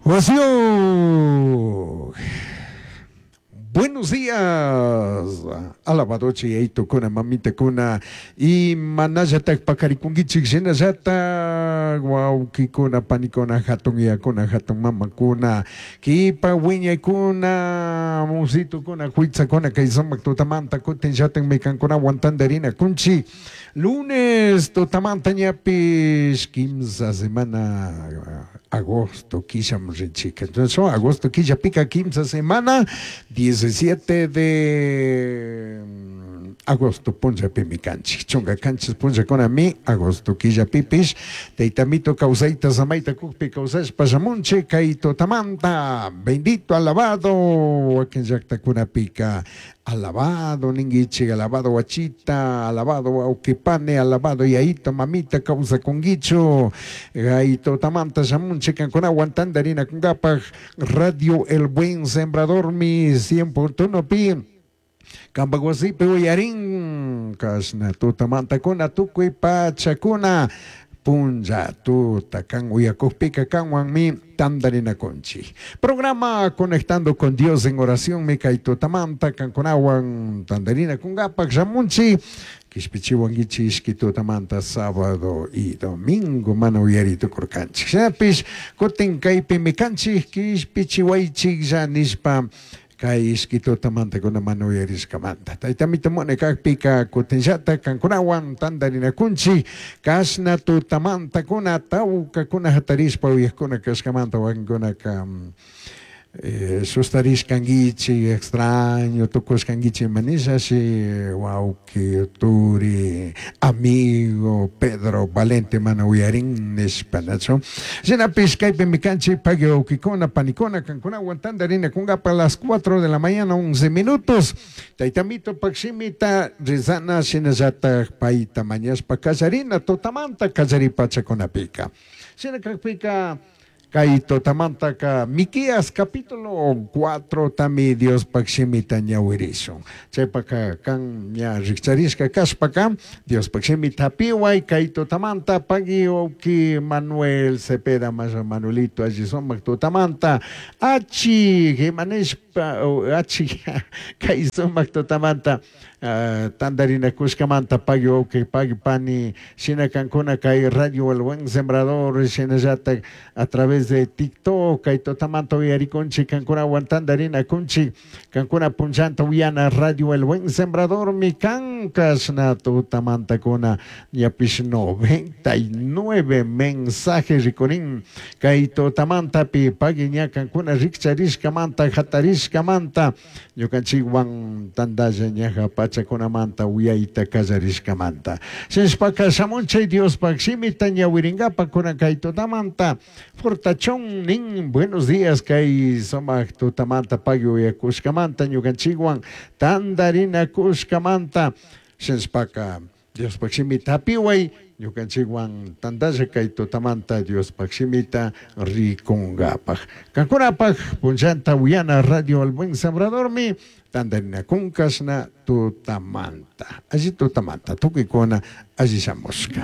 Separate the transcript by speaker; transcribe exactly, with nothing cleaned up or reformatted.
Speaker 1: Josio. Buenos días, alabado yayitukuna, mamitakuna, y manallatak pakarikunkichik shinallatak wawkikuna, panikuna, hatun yayakuna, hatun mamakuna, kipa wiñaykuna, musitukuna, huitzakuna, kay sumak tutamanta kutin llatakmi kankunawan tantarina kunchik. Lunes tutamanta ñapish kimsa semana agosto killam rinchik. Entonces, agosto killapika kimsa semana diecisiete de agosto punllapimi kanchik. Chunka kanchis punllakunami agosto killapipish taytamito kawsayta samayta kukpi kawsashpa shamunchik kay tutamanta. Bendito, alabado, wakin llaktakunapika alabado ninguichik, alabado wachita, alabado wawqipani, alabado yayito, mamita kawsakunkichu. Kay tutamanta shamunchik kankunawan tantarinakunkapaj Radio El Buen Sembrador mi cien punto uno pi. Kampak wasipi uyarin kashna tutamantakuna tukuy pachakuna punlla tuta kan uyakukpika kanwanmi tantarinakunchik. Programa Conectando con Dios en Oración mi kay tutamanta kankunawan tantarinakunkapak shamunchik. Kishpichiwankichik ishki tutamanta sábado y domingo mana uyari tukurkanchik. Shinapish kutin kaypimi kanchik kishpichiwaychiklla nishpa kay ishki tutamanta kuna mana uyarishkamanta. Taytamito mune kakpika kutinllata kankunawan tantarinakunchik kashna tutamanta kuna tawkakuna hatarishpa uyakuna kashkamanta wakinkunaka eh, sustarishkankichik extraño tukushkankichik manishashi wawki turi amigo Pedro Valente mana uyarin nishpa nachu. Shinapish kaypimi kanchik pagui wawkikuna panikuna kankunawan tantarinakunkapa a las cuatro de la mañana once minutos. Taytamito pakshimita rezana shinallatak payta mañashpa kallarina tutamanta kallaripachakunapika. Shina kakpika kay tutamantaka Miqueas capítulo cuatro tami Dios pakshimita ñawirishun. Chaypaka kan ña rikcharishka kashpaka Dios pakshimita piway kay tutamanta pagui wawki Manuel Cepeda masha Manuelito alli sumak tutamanta achi himanishpa achi kay sumak tutamanta uh, tantarinakushkamanta pagui wawki pagui pani shina kankuna kay Radio El Buen Sembrador shinallatak a través de TikTok kay tutamanta uyarikunchik kankunawan tantarinakunchik kankuna punllanta uyana Radio El Buen Sembrador mi kan kashna tutamantakuna ñapish noventa y nueve mensajes rikurin kay tutamantapi pagui ña kankuna rikcharishkamanta hatarishkamanta ñukanchikwan tantalla ñaja pachakunamanta uyayta kallarishkamanta. Shinashpaka shamunchay Diospak shimita ñawirinkapak kunan kay tutamanta fortachón nin buenos días kay sumak tutamanta pagui uyakushkamanta ñukanchikwan tantarinakushkamanta shinashpaka Diospak shimita hapiway ñukanchikwan tantalla kay tutamanta Diospak shimita rikunkapak. Kankunapak punllanta uyana Radio El Buen Sembradormi tantarinakunkashna tutamanta. Alli tutamanta tukuykuna alli shamushka.